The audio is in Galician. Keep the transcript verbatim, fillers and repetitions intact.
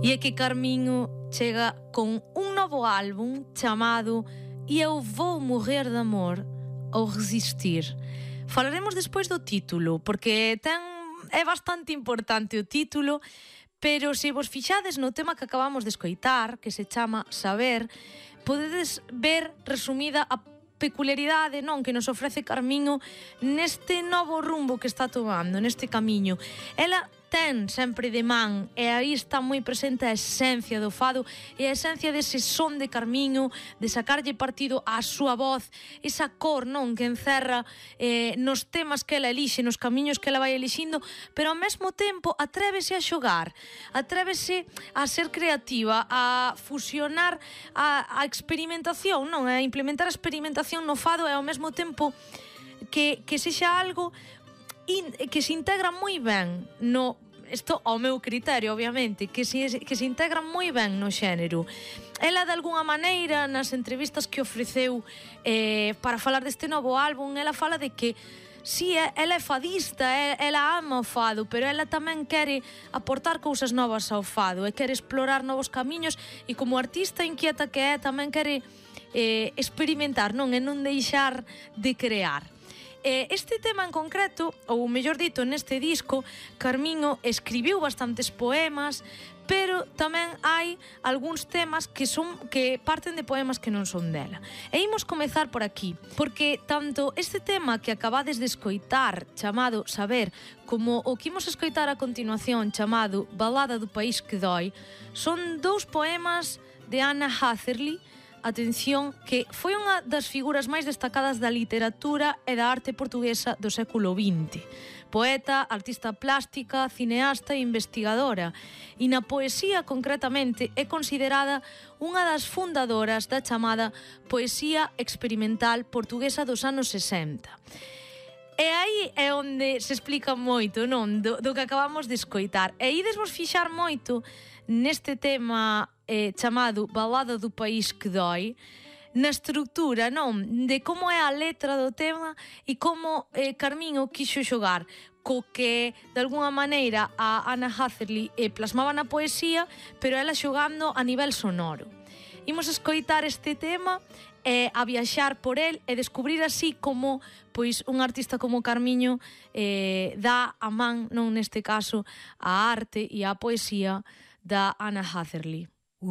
E é que Carmiño chega con un novo álbum chamado E eu vou morrer de amor ou resistir. Falaremos despois do título, porque ten, é bastante importante o título, pero se vos fixades no tema que acabamos de escoitar, que se chama Saber, podedes ver resumida a peculiaridade, non, que nos ofrece Carmiño neste novo rumbo que está tomando, neste camiño. Ela ten sempre de man, e aí está moi presente a esencia do fado e a esencia dese son de Carmiño, de sacarlle partido á súa voz, esa cor, non, que encerra eh, nos temas que ela elixe, nos camiños que ela vai elixindo, pero ao mesmo tempo atrévese a xogar, atrévese a ser creativa, a fusionar a, a experimentación, non, a implementar a experimentación no fado e ao mesmo tempo que, que sexa algo in, que se integra moi ben no, isto ao meu criterio, obviamente, que se, que se integra moi ben no xénero. Ela, de alguna maneira, nas entrevistas que ofreceu eh, para falar deste novo álbum, ela fala de que si, ela é fadista, ela ama o fado, pero ela tamén quere aportar cousas novas ao fado e quere explorar novos camiños, e como artista inquieta que é, tamén quere eh, experimentar, non, e non deixar de crear. Este tema en concreto, ou mellor dito, neste disco, Carmiño escribiu bastantes poemas, pero tamén hai algúns temas que son que parten de poemas que non son dela. E imos comezar por aquí, porque tanto este tema que acabades de escoitar, chamado Saber, como o que imos escoitar a continuación, chamado Balada do País que Dói, son dous poemas de Anna Hatherley. Atención, que foi unha das figuras máis destacadas da literatura e da arte portuguesa do século vinte. Poeta, artista plástica, cineasta e investigadora. E na poesía, concretamente, é considerada unha das fundadoras da chamada poesía experimental portuguesa dos anos sesenta. E aí é onde se explica moito, non? Do, do que acabamos de escoitar. E ides vos fixar moito neste tema eh, chamado Balada do País que Dói, na estrutura, non? De como é a letra do tema e como eh, Carmiño quixo xogar co que, de alguna maneira, a Anna Hatherley eh, plasmaba na poesía, pero ela xogando a nivel sonoro. Imos escoitar este tema e a viaxar por el e descubrir así como pois un artista como Carmiño eh, dá a man, non neste caso, a arte e a poesía da Anna Hatherley.